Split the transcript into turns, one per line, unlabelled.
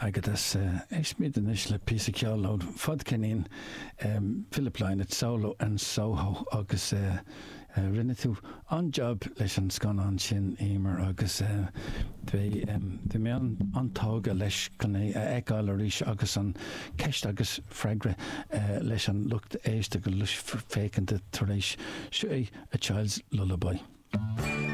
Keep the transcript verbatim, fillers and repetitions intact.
Agat as éistfimid anois le píosa ceoil ó fadcheirnín Philip Lynott Solo in Soho agus uh, uh, rinne tú an-jab leis an scannán sin Emer agus bhí bhí mé an-tógtha leis chun é a fheiceáil arís agus an ceist agus freagra uh, leis an lucht éisteachta go lucht féachana tar éis seo A Child's Lullaby.